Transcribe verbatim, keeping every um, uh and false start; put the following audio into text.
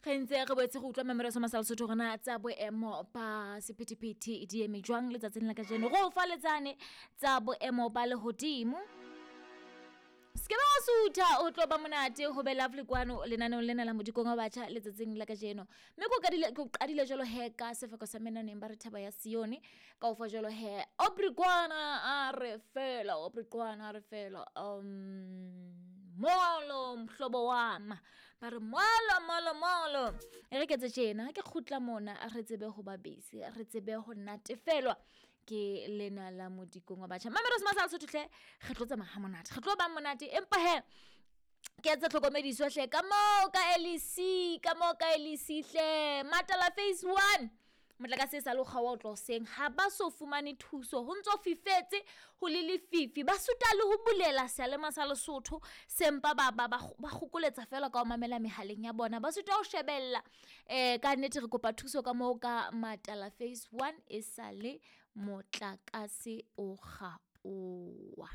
Re ntse re boetse re utlwa memoriso masala Sotho rona tsa boemo ba sephethephethe di eme jwang letsatsing la kajeno. Re o fa letsane tsa boemo ba lehodimo. Skebe wa sutha o tlo ba monate ho be lovely kwano lenaneong lena la Modikong wa Batjha letsatsing la kajeno. Mme ko qadile ko qadile jwalo he ka sefako sa menaneng ba re thaba ya Sione ka o fa jwalo he Aubrey kwana a re fela Aubrey kwana a re fela um molo mhlobo wama ba re molo molo molo e re ketse tjena ha ke kgutla mona re tsebe ho ba busy re tsebe ho natefelwa ke lena la Modikong wa Batjha. Mameros masala Sotho hle re tlo tsamaya ha monate re tlo ba monate empa he ke etsa tlhokomediso hle ka moo ka L E C ka moo ka L E C hle Matala phase one motlakase e sa le o kgaoha ho tloha hoseng ha ba so fumane thuso ho ntso fifetse ho le lefifi ba suta le ho bulela seyalema sa Lesotho sempa ba ba ba ba kgokoletsa fela ka ho mamela mehaleng ya bona ba suta ho shebella eh ka nnete re kopa thuso ka moo ka Matala phase one e sa le motlakase o kgaoha.